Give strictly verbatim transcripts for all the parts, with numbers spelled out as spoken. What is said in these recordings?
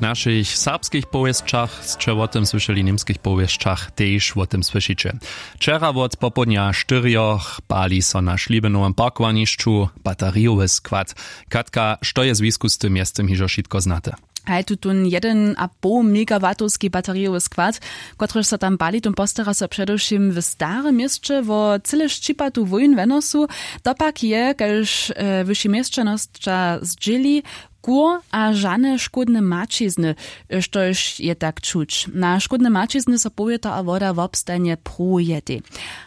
W našich serbskich powěsćach sće wo tym słyšeli, w němskich powěsćach tež wo tym słyšiće. Wčera wot popołdnja štyrjoch pali so na šlibenowym parkowanišću baterijowy skład. Katka, što je zwisku z tym mjescem hižo wšitko znate? Haj, tutón jedyn a poł megawatowski baterijowy skład, kotryž so tam pali, tón postara so předewšěm w starym měsće wo cyle šćipatu wójn wenosu. To pak je, kaž wyši měsćanosća zdźěli, kur a žane škódne maćizny. Štož je tak čuć, na škódne maćizny so powětra a woda wobstajnje pruwuje tej.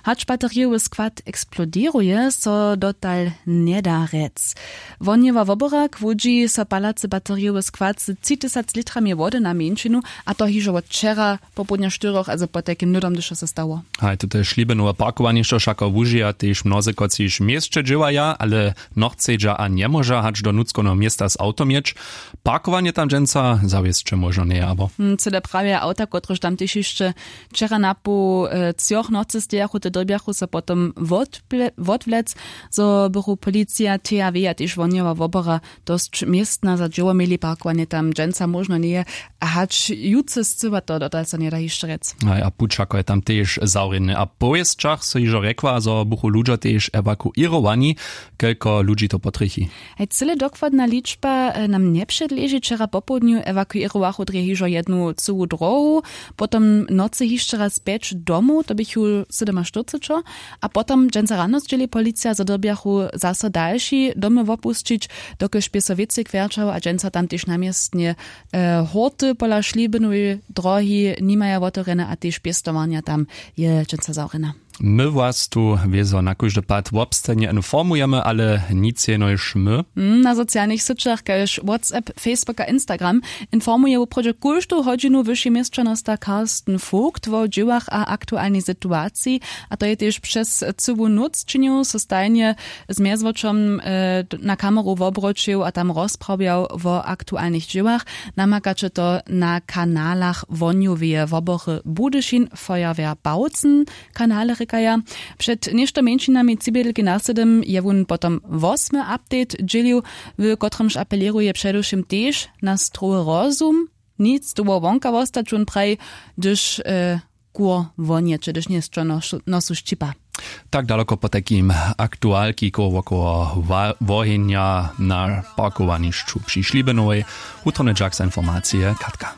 Hač baterijowy skład eksplodiruje, so dotal njeda rjec. Wohnjowa woborak łudźi so palacy baterijowy skład z tři tysac litrami wody na mjeńšinu, a to hižo wot wčera popołdnja štyrjoch, a z potajkim hnydom, hdyž to so stało. Haj, tute šlibenowe parkowanišćo wšako wužija tež mnozy, kotřiž w měsće dźěłaja, ale nochcedźa a njemóža hač do nutřkowneho města z awtom jěć. Parkowanje tam dźensa zawěsće móžno njeje abo? Hm, cyle prawje awta, kotrež tam tež hišće wčera napoł třoch nocy stejachu, te dyrbjachu so potom wotwlec. Zo bychu policija, thaw a tež wohnjowa wobora dosć městna za dźěło měli. Parkowanje tam dźensa móžno njeje, a hač jutře scyła to dotal so njeda hišće rjec. Haj, a puć wšako je tam tež zawrěny. A w powěsćach so hižo rjekła, zo buchu ludźo tež ewakuěrowani. Kelko ludźi to potrjechi? Haj, cyle dokładna ličba nam njepředleži. Wčera popołdnju ewakuěrowachu drje hižo jednu cyłu drohu, potom nocy hišće raz pjeć domow, to běchu sydomaštyrcećo. A potom dźensa rano zdźěli policija, zo dyrbjachu zaso dalši domy wopusćić, dokelž bě so wěcej kwjerćało, a dźensa tam tež na městnje hórty pola šlibinowej drohi nimaja wotewrjene a tež pěstowarnja tam je dźensa zawrjena. My was tu wězo na kóždy pad wobstajnje informujemy, ale nic jenož my. Na socialnych syćach kaž whatsapp, facebook a instagram informuje woprawdźe kóždu hodźinu wyši měsćanosta karsten vogt wo dźěłach a aktualnej situaciji. A to je tež přez cyłu nóc činił, so stajnje z mjezwočom na kameru wobroćił a tam rozprawjał wo aktualnych dźěłach. Namakaće to na kanalach wohnjoweje wobory budyšin, feuerwehr bautzen, kanale rěkaja. Před něšto mjeńšinami tři bědelki naslědom je wón potom wosmy update dźělił, w kotrymž apelěruje předewšěm tež na strowy rozum. Nic dołho wonka wostać, wón praji, hdyž kur wonjeće, hdyž njejsće nosu šćipa. Tak daloko potajkim aktualki koło wokoło wohenja na parkowanišću při šlibenowej. Wutrobny dźak za informacije, katka.